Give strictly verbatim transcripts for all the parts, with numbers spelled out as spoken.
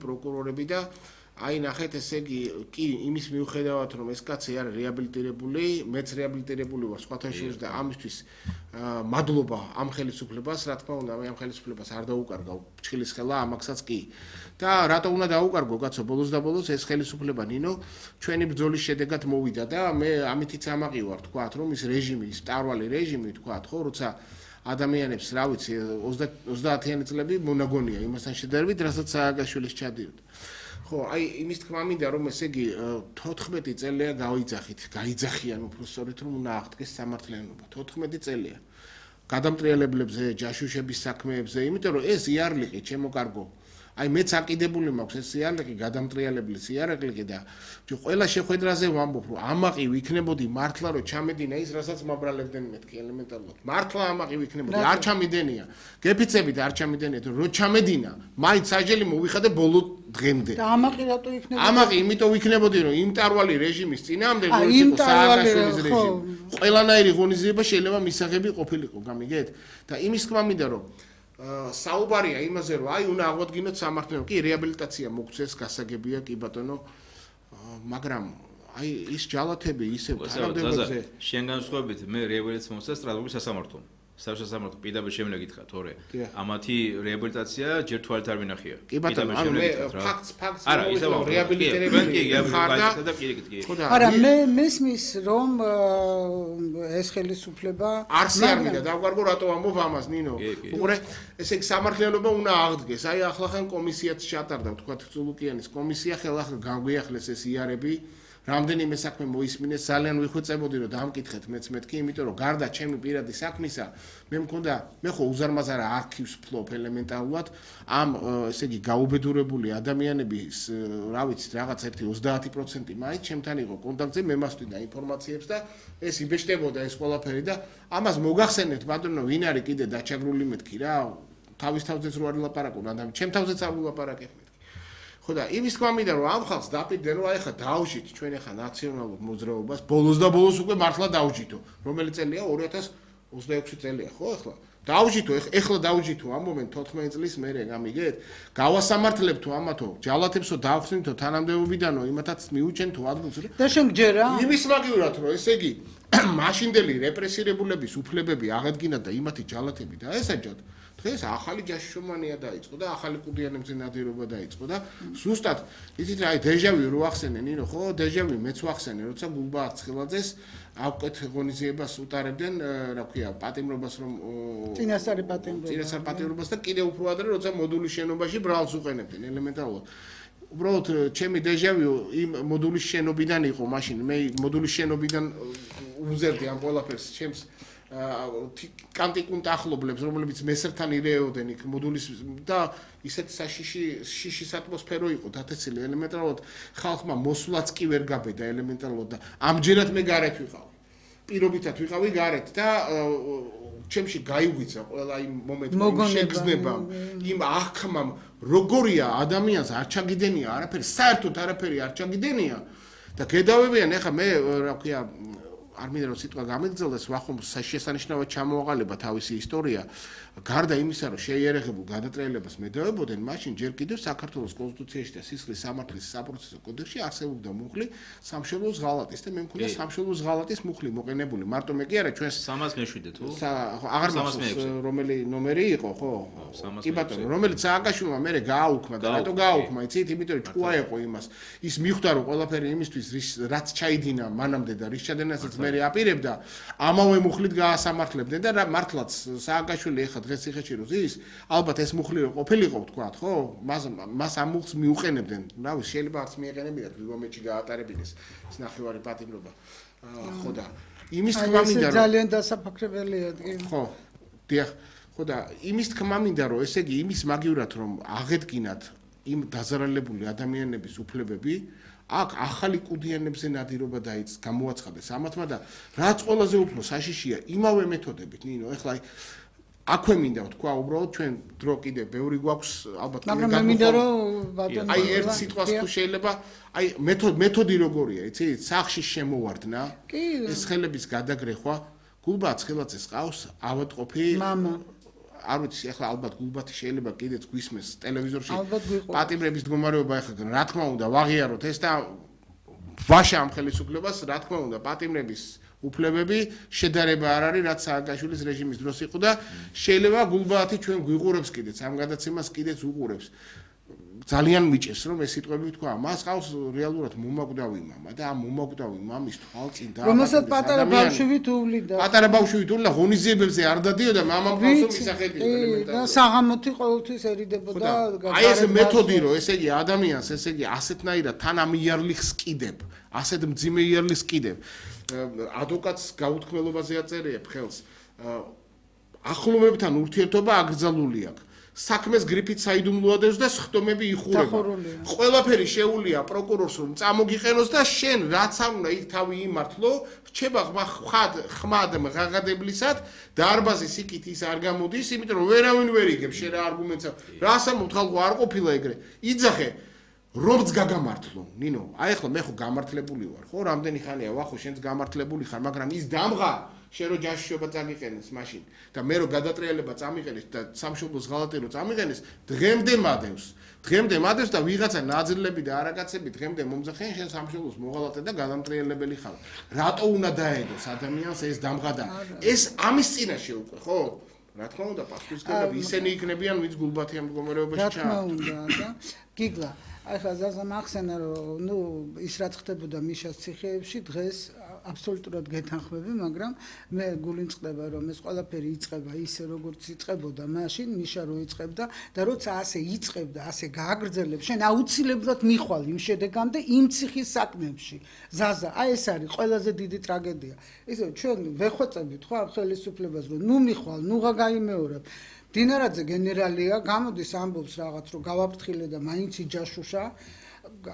პროკურორები და აი ნახეთ ესე იგი კი იმის მიუხედავად რომ ეს კაცი არის რეაბილიტირებული, მეც რეაბილიტირებული ვარ სხვათა შორის და ამისთვის მადლობა ამ ხელისუფლებას, რა თქმა უნდა, მე ამ ხელისუფლებას არ დაუკარგავ ჩხილის ხელა ამასაც კი. და რატო უნდა დაუკარგო კაცო, ბოლოს და ბოლოს ეს ხელისუფლება ნინო ჩვენი ბრძოლის შედეგად მოვიდა და მე ამითიც ამაყი ვარ თქვათ რომ ის რეჟიმი, ის მტარვალი რეჟიმი თქვათ ხო, როცა ადამიანებს რა ვიცი ოცდაათიანი წლები მონაგონია იმასთან შედარებით, რასაც სააგაშვილის ჩადიოდა. ხო, აი იმის თქმა მინდა რომ ესე იგი თოთხმეტი წელია გავიძახით, გაიძახიან უფრო სწორედ რომ უნდა აღდგეს სამართლიანობა. თოთხმეტი წელია. გადამტრიალებლებზე, ჯაშუშების საქმეებზე, იმიტომ რომ ეს იარლიყი ჩემო კარგო აი მეც აკიდებული მაქვს ეს იარლიყი გადამტრიალებლის იარლიყი და ყველა შეხვედრაზე ვამბობ რომ ამაყი ვიქნებოდი მართლა რომ ჩამედინა ის რასაც მაბრალებდნენ მეთქი ელემენტარულად მართლა ამაყი ვიქნებოდი არ ჩამიდენია გეფიცებით არ ჩამიდენია რომ ჩამედინა მაინც საჯელი მოვიხადე ბოლო დღემდე და ამაყი რატო იქნებოდა ამაყი იმიტომ ვიქნებოდი რომ იმ მტარვალი რეჟიმის წინააღმდეგ როგორც იყო სააგაშვილის რეჟიმი ყველანაირი ღონისძიება შეიძლება მისაღები ყოფილიყო გამიგეთ და იმის თქმა მინდა რომ საუბარია იმაზე რომ აი უნდა აღვადგინოთ სამართლიანობა კი რეაბილიტაცია მოგწეს გასაგებია კი ბატონო მაგრამ აი ის ჯალათები ისევ თანამდებობაზე შენ განსხვავებით მე რეაბილიტაცია მომწეს სტრასბურგის სასამართლომ სასამართლო პირდაპირ შემიძლია გითხრათ თორე ამათი რეაბილიტაცია ჯერ თვალით არ ვინახია კი ბატონო ანუ მე ფაქტს ფაქტს არა ისევ რეაბილიტირებული ხარ არა მე მესმის რომ ეს ხელისუფლება არც არ მინდა დავგვარგო რატო ამბობ ამას ნინო უყურე ესე იგი სამართლიანობა უნდა აღდგეს აი ახლა ხან კომისიაც ჩატარდა თქვა წულუკიანის კომისია ხელახლა განგვიახლეს ეს იარები რამდენიმე საქმე მოისმინეს ძალიან ვიხვეწებოდი რომ დამკითხეთ მეც მეთქი იმიტომ რომ გარდა ჩემი პირადი საქმისა მე მქონდა მე ხო უზარმაზარა არქივს ფლობ ელემენტარულად ამ ესე იგი გაუბედურებული ადამიანების რა ვიცი რაღაც ერთი ოცდაათი პროცენტი მაინც ჩემთან იყო კონტაქტზე მე მასვიდა ინფორმაციებს და ეს იბეჭდებოდა ეს ყველაფერი და ამას მოგახსენებთ ბატონო ვინ არის კიდე დაჩაგრული მეთქი რა თავის თავზეც რო არ ვილაპარაკო და ჩემ თავზეც არ ვილაპარაკებ ხო და იმის თქმა მინდა რომ ამ ხალხს დაპირდნენ რომ აი ხა დავжить ჩვენ ახლა ნაციონალურ მოძრაობას ბოლოს და ბოლოს უკვე მართლა დავжитო რომელი წელია ორი ათას ოცდაექვსი წელია ხო ახლა დავжитო ახლა დავжитო ამ მომენტ თოთხმეტი წლის მერე გამიგეთ გავასამართლებთო ამათო ჯალათებსო დავხსნითო თანამდებობიდანო იმათაც მიუჩენთო ადგილს და შენ გჯერა იმის მაგივრად რომ ესე იგი მაშინდელი რეპრესირებულების უფლებები აღედგინათ და იმათი ჯალათები დაესაჯათ დღეს ახალი ჯაშუშობანია დაიწყო და ახალი კუდიანებზე ნადირობა დაიწყო და ზუსტად იცით რა აი დეჟავი რო ახსენე ნინო ხო დეჟავი მეც ვახსენე როცა გულბა არცხილაძეს ავკეთ ღონისძიებას უტარებდნენ რა ქვია პატიმრობას რომ წინასწარი პატიმრობა წინასწარი პატიმრობას და კიდე უფრო ადრე როცა მოდულის შენობაში ბრალს უყენებდნენ ელემენტარულად უბრალოდ ჩემი დეჟავი იმ მოდულის შენობიდან იყო მაშინ მე მოდულის შენობიდან უზერდი ამ ყველაფერს ჩემს კანტიკუნ ახლობლებს რომლებიც მესერთან ირეოდენ იქ მოდულის და ისეთ საშიში შიშის ატმოსფერო იყო დათესილი ელემენტარულად ხალხმა მოსვლაც კი ვერ გაბედა ელემენტარულად და ამჯერად მე გარეთ ვიყავ პირობითად ვიყავი გარეთ და ჩემში გაიგვიცა ყველა იმ მომენტში შეგრძნება იმ აღქმამ როგორია ადამიანს არ ჩაგიდენია არაფერი საერთოდ არაფერი არ ჩაგიდენია და გედავებიან ეხა მე რა ქვია არ მინდა რომ სიტყვა გამიგრძელდეს ვახომ შესანიშნავად ჩამოაყალიბა თავისი ისტორია გარდა იმისა რომ შეიარაღებულ გადატრიალებას მედავებოდნენ მაშინ ჯერ კიდევ საქართველოს კონსტიტუციაში და სისხლის სამართლის საპროცესო კოდექსში არსებობდა მუხლი სამშობლოს ღალატის და მე მქონდა სამშობლოს ღალატის მუხლი მოყენებული მარტო მე კი არა ჩვენ სამას მეშვიდე თუ აღარ მახსოვს რომელი ნომერი იყო ხო კი ბატონო რომელიც სააგაშვილმა მე გააუქმა და რატო გააუქმა იცით იმიტომ რომ ჭკუა იყო იმას ის მიხვდა რომ ყველაფერი იმისთვის რაც ჩაიდინა მანამდე და რის ჩადენასაც მე აპირებდა ამავე მუხლით გაასამართლებდნენ და მართლაც სააგაშვილი ეხა დღეს ციხეში რო ზის ალბათ ეს მუხლი რო ყოფილიყო თქვა ხო მას მას ამ მუხლს მიუყენებდნენ რა ვიცი შეიძლება არც მიეყენებინათ რიგომეთში გაატარებინეს ეს ნახევარი პატიმრობა ხო და იმის თქმა მინდა რომ ძალიან დასაფაქრებელია ხო დიახ ხო და იმის თქმა მინდა რომ ესე იგი იმის მაგივრად რომ აღედგინათ იმ დაზარალებული ადამიანების უფლებები აქ ახალი კუდიანებზე ნადირობა დაიც გამოაცხადეს ამათმა და რაც ყველაზე უფრო საშიშია იმავე მეთოდებით ნინო ეხლა აქვე მინდა ვთქვა უბრალოდ ჩვენ დრო კიდე ბევრი გვაქვს ალბათ მაგრამ მე მინდა რომ ბატონო აი ერთ სიტყვას თუ შეიძლება აი მეთოდი მეთოდი როგორია იცი სახში შემოვარდნა ეს ხელების გადაგრეხვა გულბა ცხილაძეს ყავს ავადყოფი მამა არ ვიცი, ახლა ალბათ გულბათი შეიძლება კიდეც გვისმეს ტელევიზორში. პატიმრების მდგომარეობა ახლა რა თქმა უნდა ვაღიაროთ ეს და ვაშა ამ ხელისუფლებას, რა თქმა უნდა, პატიმრების უფლებები შედარება არ არის, რაც სააკაშვილის რეჟიმის დროს იყო და შეიძლება გულბათი ჩვენ გვიყურებს კიდეც, ამ გადაცემას კიდეც უყურებს. ძალიან მიჭეს რომ ეს სიტყვები თქვა, მას ყავს რეალურად მომაკვდავი მამა და ამ მომაკვდავი მამის თვალწინ და რომელსაც პატარა ბავშვი თულიდა. პატარა ბავშვი თულდა ღონისძიებებზე არ დადიოდა მამამ ყავსო მისახები ელემენტარულად. და საღამოთი ყოველთვის ერიდებოდა. აი ეს მეთოდი რომ ესე იგი ადამიანს ესე იგი ასეთნაირად თან ამ იარლიხს კიდებ, ასეთ მძიმე იარლიხს კიდებ. ადვოკატს გაუთქმელობაზე აწერიებ ხელს. ახლობლებთან ურთიერთობა აკრძალული აქვს. საქმეს გრიფით საიდუმლოადებს და სხდომები იხურება. ყველაფერი შეუულია პროკურორს რომ წამოგიყენოს და შენ რაც არ უნდა იქ თავი იმართლო, რჩება ხმად ხმად ღაღადებლისად დარბაზის იქით ის არ გამოდის, იმიტომ რომ ვერავინ ვერ იგებს შენ რა არგუმენტს. რას ამბობ ხალხო არ ყოფილა ეგრე. იძახე რომც გაგამართლო, ნინო, აი ახლა მე ხო გამართლებული ვარ, ხო, რამდენი ხანია ვახო შენც გამართლებული ხარ, მაგრამ ის დამღა შენ რო ჯაშშობა წამიყენეს მაშინ და მე რო გადატრიალება წამიყენეს და სამშობლოს ღალატი რო წამიყენეს, დღემდე მადევს. დღემდე მადევს და ვიღაცა ნაძრლები და არაკაცები დღემდე მომძახენ შენ სამშობლოს მოღალატე და გადამტრიალებელი ხარ. რატო უნდა დაედოს ადამიანს ეს დამღა და ეს ამის წინაშე უკვე, ხო? რა თქმა უნდა, პასუხისმგებლები ისინი იქნებიან, ვინც გულბათი ამ მდგომარეობაში ჩაა. რა თქმა უნდა და გიგლა ახლა ზაზა მახსენა რომ ნუ ის რაც ხდებოდა მიშას ციხეებში დღეს აბსოლუტურად გეთანხმები, მაგრამ მე გულიმწყდება რომ ეს ყველაფერი იწყება ისე როგორც იწყებოდა მაშინ მიშა რო იწყებდა და როცა ასე იწყებდა, ასე გააგრძელებს, შენ აუცილებლად მიხვალ იმ შედეგამდე იმ ციხის საქმეებში. ზაზა, აი ეს არის ყველაზე დიდი ტრაგედია. ისე ჩვენ ვეხვეწებით ხო ამ ხელისუფლებას რომ ნუ მიხვალ, ნუღა გაიმეორებ. დინარაძე გენერალია, გამოდის ამბობს რაღაც რომ გავაფრთხილე და მაინც იჯაშუშა.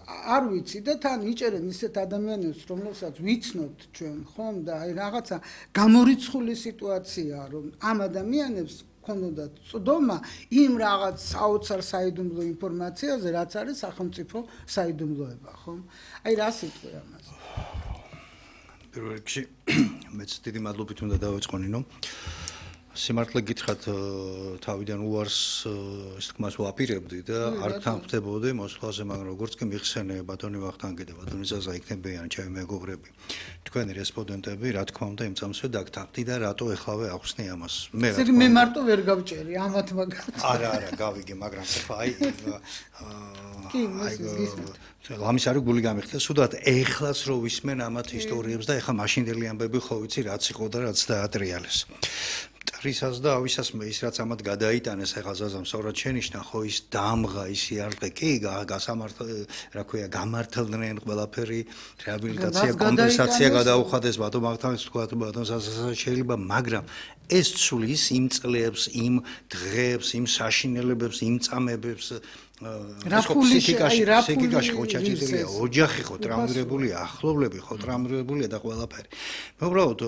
არ ვიცი და თან იჭერენ ისეთ ადამიანებს, რომლებსაც ვიცნობთ ჩვენ, ხომ და აი რაღაცა გამორიცხული სიტუაციაა, რომ ამ ადამიანებს ქონოდათ წვდომა იმ რაღაც საოცარ საიდუმლო ინფორმაციაზე, რაც არის სახელმწიფო საიდუმლოება, ხომ? აი რა სიტყვი ამაზე? პირველ რიგში მეც დიდი მადლობით უნდა დავიწყო ნინო. სიმართლე გითხრათ თავიდან უარს ის თქმას ვაპირებდი და არ თანხმდებოდი მოსვლაზე, მაგრამ როგორც კი მიხსენე ბატონი ვახტანგი და ბატონი ზაზა იქნებიან ჩემი მეგობრები, თქვენი რესპონდენტები, რა თქმა უნდა იმ წამსვე დაგთანხმდი და რატო ეხლავე ახსნი ამას. მე რა თქმა უნდა მე მარტო ვერ გავჭერი ამათ მაგათ. არა, არა, გავიგე, მაგრამ ხა აი კი, მოსის გისმენთ. ლამის არის გული გამიხდა, სუდად ეხლაც რო ვისმენ ამათ ისტორიებს და ეხლა მაშინდელი ამბები ხო ვიცი რაც იყო და რაც დაატრიალეს. რისას და ავისას მე ის რაც ამათ გადაიტანეს ახლა ზაზამ სწორად შენიშნა ხო ის დამღა ის იარყე კი გასამართ რა ქვია გამართლდნენ ყველაფერი რეაბილიტაცია კომპენსაცია გადაუხადეს ბატონ მაღთანს თქვა ბატონ ზაზას შეიძლება მაგრამ ეს ცulis იმ წლებს იმ დღეებს იმ საშინელებებს იმ წამებებს სიკიკაში ხო ჩაჭირილია ოჯახი ხო ტრამვირებულია ახლობლები ხო ტრამვირებულია და ყველაფერი მე უბრალოდ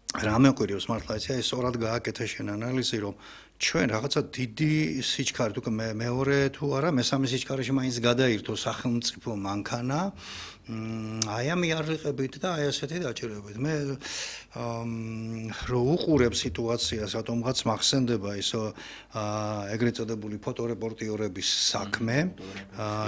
რა მეკვირევს მართლა ეს სწორად გააკეთა შენ ანალიზი რომ ჩვენ რაღაცა დიდი სიჩქარე თუ მეორე თუ არა მესამე სიჩქარეში მაინც გადაირთო სახელმწიფო მანქანა აი ამ იარლიყებით და აი ასეთი დაჭირებით მე რო უყურებ სიტუაციას რატომღაც მახსენდება ის ეგრეთ წოდებული ფოტორეპორტიორების საქმე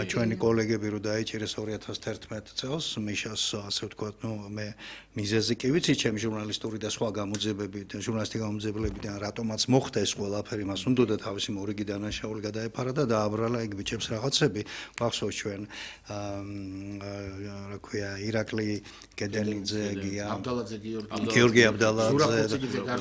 ჩვენი კოლეგები რო დაიჭირეს ორი ათას თერთმეტ წელს მიშას ასე ვთქვათ ნუ მე მიზეზი კი ვიცი ჩემი ჟურნალისტური და სხვა გამოძიებები ჟურნალისტი გამოძიებლებიდან რატომაც მოხდა ეს ყველაფერი მას უნდა თავისი მორიგი დანაშაული გადაეფარა და დააბრალა ეგ ბიჭებს რაღაცები გახსოვს ჩვენ რა ქვია ირაკლი გედელიძე გია აბდალაძე გიორგი გიორგი აბდალაძე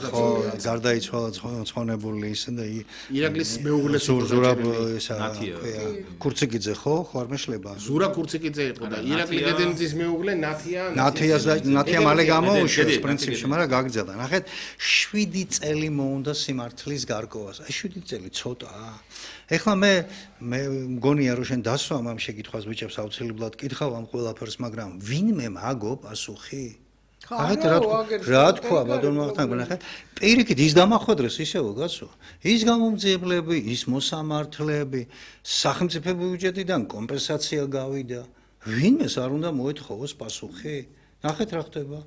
ხო გარდაიცვალა ცხონებული ისე და ირაკლის მეუღლეს ზურაბ ისა ქვია კურციკიძე ხო ხო არ მეშლება ზურა კურციკიძე იყო და ირაკლი გედელიძის მეუღლე ნათია ნათია ნათია მალე გამოუშვეს პრინციპში მაგრამ გაგრძელდა ნახეთ შვიდი წელი მოუნდა სიმართლის გარკვევას აი შვიდი წელი ცოტაა ეხლა მე მე მგონია რომ შენ დასვამ ამ შეკითხვას ბიჭებს აუცილებლად კითხავ ამ ყველაფერს მაგრამ ვინმე მაგო პასუხი ხარეთ რა თქვა ბატონ მახტანგ ნახე პირიქით ის დამახვედრეს ისევ გასო ის გამომძიებლები ის მოსამართლეები სახელმწიფო ბიუჯეტიდან კომპენსაცია გავიდა ვინმეს არ უნდა მოეთხოვოს პასუხი ნახეთ რა ხდება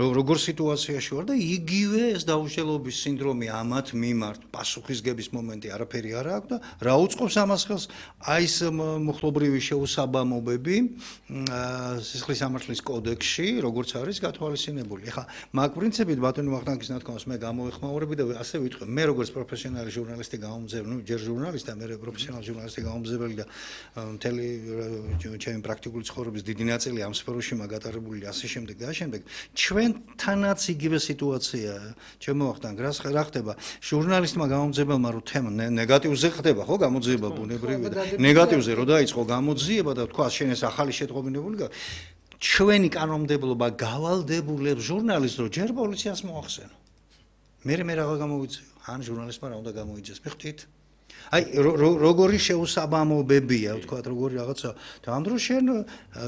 როგორ სიტუაციაში ვარ და იგივე ეს დაუშელობის სინდრომი ამათ მიმართ პასუხისგების მომენტი არაფერი არ აქვს და რა უწყობს ამას ხელს? აი ეს მოხლობრივი შეუსაბამობები სისხლის სამართლის კოდექსში, როგორც არის გათვალისწინებული. ეხლა მაგ პრინციპით ბატონი ვახტანგის ნათქვამს მე გამოეხმაურები და ასე ვიტყვი, მე როგორც პროფესიონალი ჟურნალისტი გამომძებნი, ნუ ჯერ ჟურნალისტი, მე პროფესიონალი ჟურნალისტი გამომძებნი და მთელი ჩემი პრაქტიკული ცხოვრების დიდი ნაწილი ამ სფეროში მაგატარებული ასე შემდეგ და შემდეგ. ჩვენთანაც იგივე სიტუაციაა. ჩემო ვახტანგ, რა ხდება? ჟურნალისტმა გამომძებელმა რო თემა ნეგატივზე ხდება, ხო, გამოძიება ბუნებრივია და ნეგატივზე რო დაიწყო გამოძიება და თქვა შენ ეს ახალი შეტყობინებული ჩვენი კანონმდებლობა გავალდებულებს ჟურნალისტს რომ ჯერ პოლიციას მოახსენო. მე მე რა გამოვიწიო? ან ჟურნალისტმა რა უნდა გამოიძიეს? მიხდით? აი როგორი შეუსაბამობებია, ვთქვათ, როგორი რაღაცა და ამ დროს შენ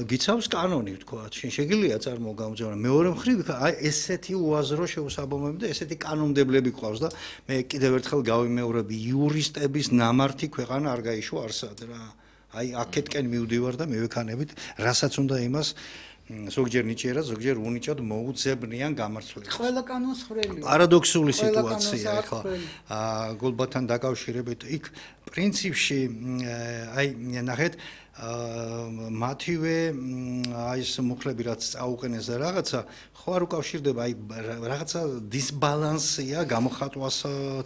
გიცავს კანონი, ვთქვათ, შენ შეგიძლია წარმოგამოძებნა. მეორე მხრივ, აი ესეთი უაზრო შეუსაბამობები და ესეთი კანონმდებლები ყავს და მე კიდევ ერთხელ გავიმეორები, იურისტების ნამართი ქვეყანა არ გაიშვა არსად რა. აი აქეთკენ მივდივარ და მივექანებით, რასაც უნდა იმას ზოგჯერ ნიჭიერა, ზოგჯერ უნიჭად მოუძებნიან გამართლებას. ყველა კანონს ხრელი. პარადოქსული სიტუაცია ახლა გულბათთან დაკავშირებით იქ პრინციპში აი ნახეთ მათივე აი ეს მუხლები რაც წაუყენეს და რაღაცა ხო არ უკავშირდება აი რაღაცა დისბალანსია გამოხატვას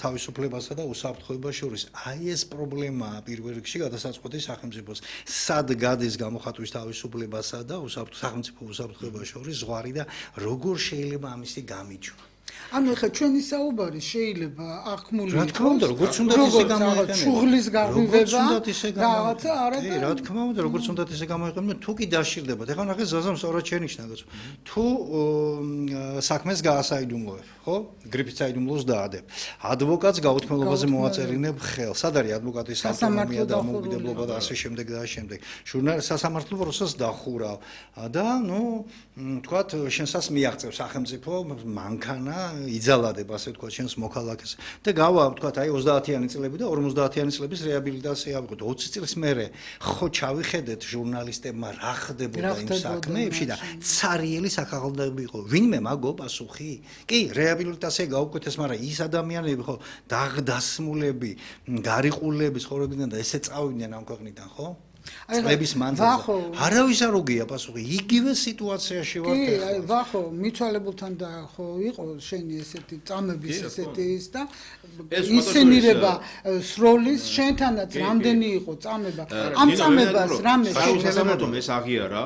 თავისუფლებასა და უსაფრთხოებას შორის. აი ეს პრობლემაა პირველ რიგში გადასაწყვეტი სახელმწიფოს. სად გადის გამოხატვის თავისუფლებასა და სახელმწიფო უსაფრთხოებას შორის ზღვარი და როგორ შეიძლება ამისი გამიჯვა. ანუ ხა ჩვენი საუბარი შეიძლება აღქმული რა თქმა უნდა როგორც უნდა ისე გამოიყენო შუღლის გაღვივება რაღაცა არა და რა თქმა უნდა როგორც უნდა ისე გამოიყენო თუ კი დაშირდებათ ეხლა ნახე ზაზამ სწორად შენიშნა თუ საქმეს გაასაიდუმლოებ ხო გრიფით საიდუმლოს დაადებ ადვოკატს გაუთქმელობაზე მოაწერინებ ხელ სად არის ადვოკატის ავტონომია და დამოუკიდებლობა და ასე შემდეგ და ასე შემდეგ ჟურნალ სასამართლო პროცესს დახურავ და ნუ თქვათ შენსას მიაღწევ სახელმწიფო მანქანა იძალადებ ასე თქვა შენს მოქალაქეს და გავა თქვა აი ოცდაათიანი წლები და ორმოცდაათიანი წლების რეაბილიტაცია ავიღოთ ოცი წლის მერე ხო ჩავიხედეთ ჟურნალისტებმა რა ხდებოდა იმ საქმეებში და ცარიელი საქაღალდები იყო ვინმე მაგო პასუხი კი რეაბილიტაცია გაუკვეთეს მაგრამ ის ადამიანები ხო დაღდასმულები გარიყულები ცხოვრობდნენ და ესე წავიდნენ ამ ქვეყნიდან ხო წლების მანძილზე არავის არ უგია პასუხი იგივე სიტუაციაში ვართ კი აი ვახო მიცვალებულთან და ხო იყო შენი ესეთი წამების ესეთი ის და ისენირება სროლის შენთანაც რამდენი იყო წამება ამ წამებას რამე შეიძლება ეს აღიარა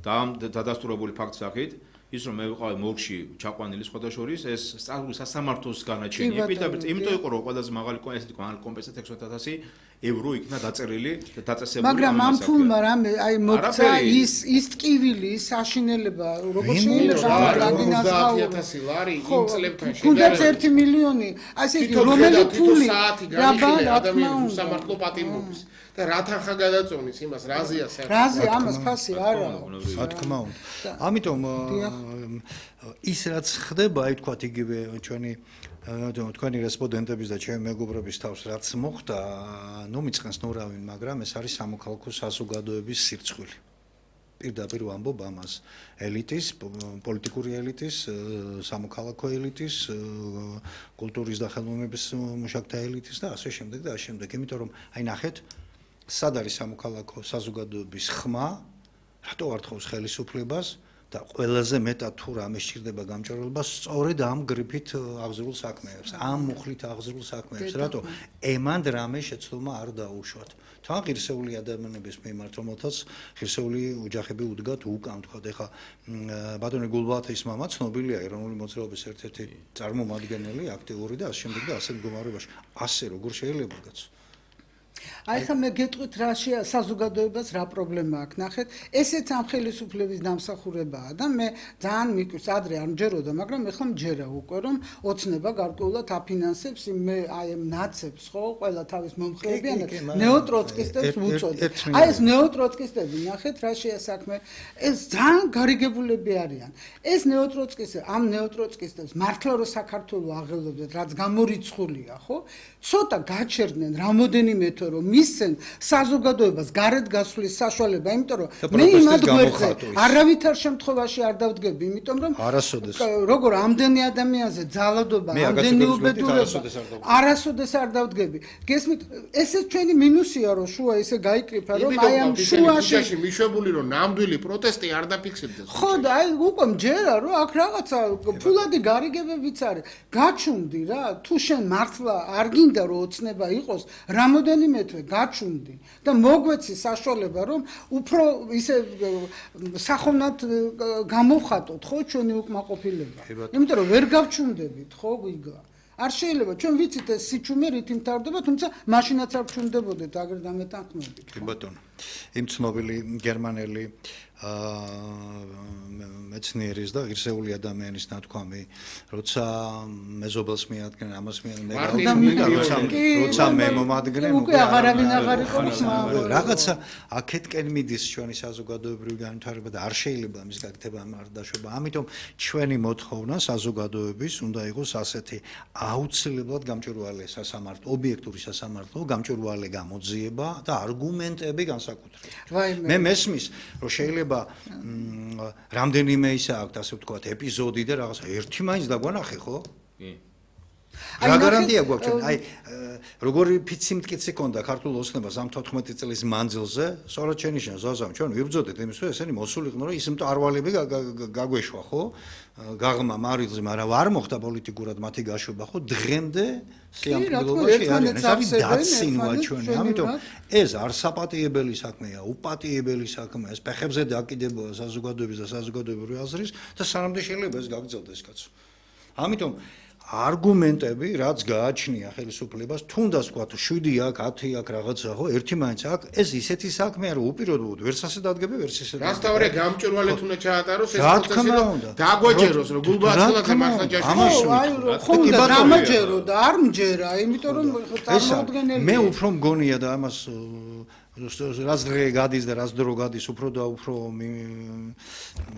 და ამ დადასტურებული ფაქტს სახით ის რომ მე ვიყავი მორგში ჩაყვანილი სხვათა შორის ეს სასამართლოს განაჩენია პირდაპირ იმიტომ იყო რომ ყველაზე მაღალი ესეთი კომპენსაცია ექვსმეტ ათასი ევრო იქნა დაწერილი და დაწესებული მაგრამ ამ ფულმა რამე აი მოქცა ის ის ტკივილი საშინელება როგორ შეიძლება ოცდაათი ათასი ლარი იმ წლებთან შედარებით თუნდაც ერთი მილიონი ასე იგი რომელი ფული რაბა ადამიანის სამართლო პატიმრობის და რა თანხა გადაწონის იმას რაზია საერთოდ რაზი ამას ფასი არა რა თქმა უნდა ამიტომ ის რაც ხდება აი თქვათ იგივე ჩვენი თქვენი რესპონდენტების და ჩემი მეგობრების თავს რაც მოხდა ნუ მიწყენს ნურავინ მაგრამ ეს არის სამოქალაქო საზოგადოების სირცხვილი პირდაპირ ვამბობ ამას ელიტის პოლიტიკური ელიტის სამოქალაქო ელიტის კულტურის და ხელოვნების მუშაკთა ელიტის და ასე შემდეგ და ასე შემდეგ იმიტომ რომ აი ნახეთ სად არის სამოქალაქო საზოგადოების ხმა რატო არ თხოვს ხელისუფლებას და ყველაზე მეტად თუ რამე სჭირდება გამჭრელობა სწორედ ამ გრიფით აღზრულ საქმეებს ამ მუხლით აღზრულ საქმეებს რატო ემანდ რამე შეცდომა არ დაუშვათ თან ღირსეული ადამიანების მიმართ რომელთაც ღირსეული ოჯახები უდგათ უკან თქვა ეხა ბატონი გულბათის მამა ცნობილია ეროვნული მოძრაობის ერთ-ერთი წარმომადგენელი აქტიური და ასე შემდეგ და ასე მდგომარეობაში ასე როგორ შეიძლება გაც აი ხა მე გეტყვით რა საზოგადოებას რა პრობლემა აქვს ნახეთ ესეც ამ ხელისუფლების დამსახურებაა და მე ძალიან მიკვის ადრე არ მჯეროდა მაგრამ ეხლა მჯერა უკვე რომ ოცნება გარკვეულად აფინანსებს მე აი ამ ნაცებს ხო ყველა თავის მომხრეებიანად ნეოტროცკისტებს უწოდებ აი ეს ნეოტროცკისტები ნახეთ რა შეასაქმე ეს ძალიან გარიგებულები არიან ეს ნეოტროცკისტები ამ ნეოტროცკისტებს მართლა რომ საქართველოს აღელვებდათ რაც გამორიცხულია ხო ცოტა გაჩერდნენ რამოდენიმე რომ მისცენ საზოგადოებას გარეთ გასვლის საშუალება, იმიტომ რომ მე იმად გვერდზე არავითარ შემთხვევაში არ დავდგები, იმიტომ რომ როგორ ამდენი ადამიანზე ძალადობა, ამდენი უბედურება არასოდეს არ დავდგები. გესმით, ესე ჩვენი მინუსია რომ შუა ესე გაიკრიფა რომ აი ამ შუაში მიშვებული რომ ნამდვილი პროტესტი არ დაფიქსირდეს. ხო და აი უკვე მჯერა რომ აქ რაღაცა ფულადი გარიგებებიც არის. გაჩუნდი რა, თუ შენ მართლა არ გინდა რომ ოცნება იყოს, რამოდენიმე თვე გაჩუნდი და მოგვეცი საშუალება რომ უფრო ისე სახოვნად გამოვხატოთ ხო ჩვენი უკმაყოფილება. იმიტომ რომ ვერ გავჩუნდებით ხო გიგა. არ შეიძლება ჩვენ ვიცით ეს სიჩუმე რით იმთავრდება, თუმცა მაშინაც არ ვჩუნდებოდეთ აგერ დამეტანხმებით. კი ბატონო. იმ ცნობილი გერმანელი მეცნიერის და ღირსეული ადამიანის ნათქვამი, როცა მეზობელს მიადგენ, ამას მიადგენ, როცა მე მომადგნენ, უკვე აღარავინ აღარ იყო რაღაცა აქეთკენ მიდის ჩვენი საზოგადოებრივი განვითარება და არ შეიძლება მის გაკეთება არ დაშვება. ამიტომ ჩვენი მოთხოვნა საზოგადოების უნდა იყოს ასეთი აუცილებლად გამჭვირვალე სასამართლო, ობიექტური სასამართლო, გამჭვირვალე გამოძიება და არგუმენტები განსაკუთრებით. მე მესმის, რომ შეიძლება რამდენიმე ისა აქვს ასე ვთქვათ ეპიზოდი და რაღაცა ერთი მაინც დაგვანახე ხო? კი. რა გარანტია გვაქვს ჩვენ? აი როგორი ფიცი მტკიცი ქონდა ქართულ ოცნებას ამ თოთხმეტი წლის მანძილზე, სწორად შენიშნა ზაზამ ჩვენ ვიბრძოდეთ იმის რომ ესენი მოსულიყვნენ რომ ის მტარვალები გაგვეშვა ხო? გაღმა მარილზე, მაგრამ არ მოხდა პოლიტიკურად მათი გაშვება ხო? დღემდე სიამოვნებაში არის. ეს არის დაცინვა ჩვენი. ამიტომ ეს არ საპატიებელი საქმეა, უპატიებელი საქმეა. ეს ფეხებზე დაკიდებაა საზოგადოების და საზოგადოებრივი აზრის და სანამდე შეიძლება ეს გაგრძელდეს კაცო. ამიტომ არგუმენტები, რაც გააჩნია ხელისუფლებას, თუნდაც ვთქვათ შვიდი აქ, ათი აქ რაღაცა ხო, ერთი მაინც აქ, ეს ისეთი საქმეა, რომ უპირობოდ ვერც ასე დადგები, ვერც ისე. რასთავრე გამჭვირვალეთ უნდა ჩაატაროს ეს პროცესი, რომ დაგვეჯეროს, რომ გულბაცილაძე მართლა ჯაშუა. აი, ხომ და დამაჯერო და არ მჯერა, იმიტომ რომ წარმოუდგენელია. მე უფრო მგონია და ამას რაც დღე გადის და რაც დრო გადის, უფრო და უფრო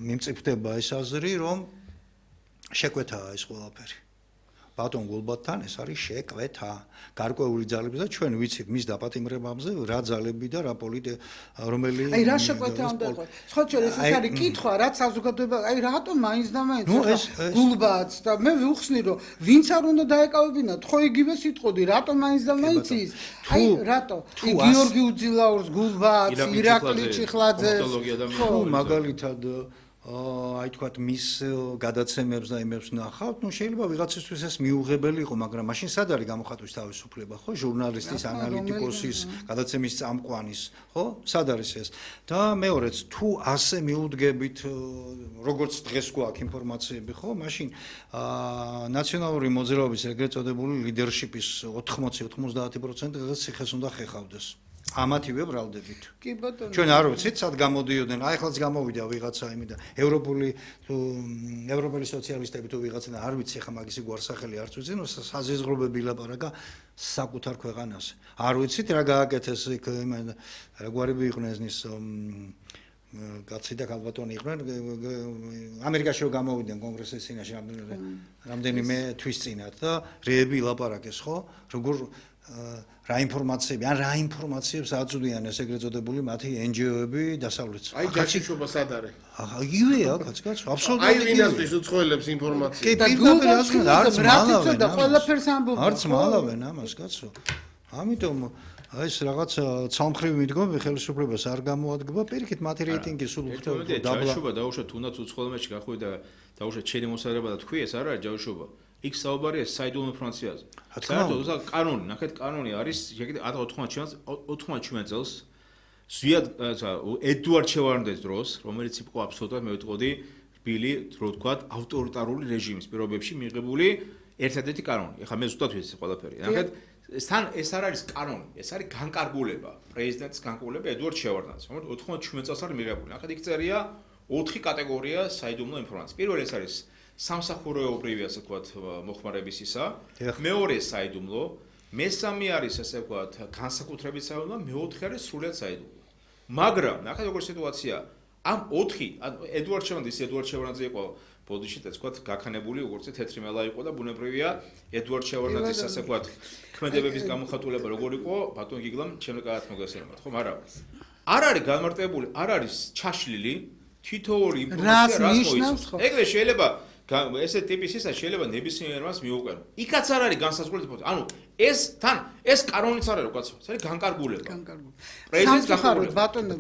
მიმწიფდება ეს აზრი, რომ შეკვეთაა ეს ყველაფერი. ბატონ გულბათთან ეს არის შეკვეთა გარკვეული ძალები და ჩვენ ვიცით მის დაპატიმრებებზე რა ძალები და რა პოლიტი რომელი აი რა შეკვეთა უნდა იყოს სხვა ჩვენ ეს არის კითხვა რაც საზოგადოება აი რატომ მაინც და მაინც გულბათს და მე ვიხსნი რომ ვინც არ უნდა დაეკავებინათ ხო იგივე სიტყოდი რატომ მაინც და მაინც ის აი რატო გიორგი უძილაურს გულბათს ირაკლი ჩიხლაძეს ხო მაგალითად აი თქვათ მის გადაცემებს და იმებს ნახავთ, ნუ შეიძლება ვიღაცისთვის ეს მიუღებელი იყო, მაგრამ მაშინ სად არის გამოხატვის თავისუფლება, ხო? ჟურნალისტის, ანალიტიკოსის, გადაცემის წამყვანის, ხო? სად არის ეს? და მეორეც, თუ ასე მიუდგებით, როგორც დღეს გვაქვს ინფორმაციები, ხო? მაშინ ნაციონალური მოძრაობის ეგრეთ წოდებული ლიდერშიპის ოთხმოცი ოცდაათი პროცენტი ციხეს უნდა ხეხავდეს. ამათივე ბრალდებით. კი ბატონო. ჩვენ არ ვიცით, სად გამოდიოდნენ. აი ხალხს გამოვიდა ვიღაცა იმიდა. ევროპული თუ ევროპელი სოციალისტები თუ ვიღაცა არ ვიცი, ხა მაგისი გვარსახელი არც ვიცი, ნუ საზიზღრობები ლაპარაკა საკუთარ ქვეყანას. არ ვიცით რა გააკეთეს იქ იმან რაგვარები იყვნენ ის კაცი და ქალბატონი იყვნენ ამერიკაში რომ გამოვიდნენ კონგრესის წინაშე რამდენიმე თვის წინათ და რეები ლაპარაკეს ხო? როგორ რა ინფორმაციები, ან რა ინფორმაციებს აწვდიან ეს ეგრეთ წოდებული მათი ენჯიოები დასავლეთში. აი ჯაშიშობა სად არის? ახლა იგივეა, კაც კაც, აბსოლუტურად იგივეა. აი ვინასთვის უცხოელებს ინფორმაცია. კი, პირდაპირ ასკენ არც მალავენ. და ყველაფერს ამბობენ. არც მალავენ ამას, კაცო. ამიტომ აი ეს რაღაც ცალმხრივი მიდგომები ხელისუფლებას არ გამოადგება, პირიქით მათი რეიტინგი სულ უფრო დაბლა. ჯაშიშობა დაუშვათ თუნდაც უცხოელებში გახვიდა და დაუშვათ შენი მოსარება და თქვი ეს არ არის ჯაშიშობა. იქ საუბარია საიდუმლო ინფორმაციაზე. საერთოდ უზა კანონი, ნახეთ კანონი არის, შეგიძლიათ ათი წელს ზვიად ედუარდ შევარდნაძის დროს, რომელიც იყო აბსოლუტურად მე ვიტყოდი რბილი, რო ვთქვათ, ავტორიტარული რეჟიმის პირობებში მიღებული ერთადერთი კანონი. ეხლა მე ზუსტად ვიცი ყველაფერი. ნახეთ, თან ეს არ არის კანონი, ეს არის განკარგულება, პრეზიდენტის განკარგულება ედუარდ შევარდნაძის, რომელიც ოთხმოცდაშვიდ წელს არის მიღებული. ნახეთ, იქ წერია ოთხი კატეგორია საიდუმლო ინფორმაცია. პირველი ეს არის სამსახურეობრივი ასე ვთქვათ მოხმარების ისა, მეორე საიდუმლო, მესამე არის ასე ვთქვათ განსაკუთრებით საიდუმლო, მეოთხე არის სრულად საიდუმლო. მაგრამ ნახეთ როგორი სიტუაცია, ამ ოთხი ედუარდ შევარდნაძე ედუარდ შევარდნაძე იყო ბოდიში და თქვა გაქანებული როგორც თეთრი მელა იყო და ბუნებრივია ედვარდ შევარდნაძის ასე ვთქვათ ქმედებების გამოხატულება როგორ იყო ბატონ გიგლამ ჩემს კარგად მოგესალმებით ხო მაგრამ არ არის განმარტებული არ არის ჩაშლილი თითოეული ინფორმაცია რას მოიცავს ეგრე შეიძლება ესე ტიპის ისა შეიძლება ნებისმიერს მიუყენო იქაც არ არის განსაზღვრელი ანუ ეს თან ეს კანონიც არ არის უკაცრავად ეს არის განკარგულება განკარგულება პრეზიდენტის განკარგულება ბატონო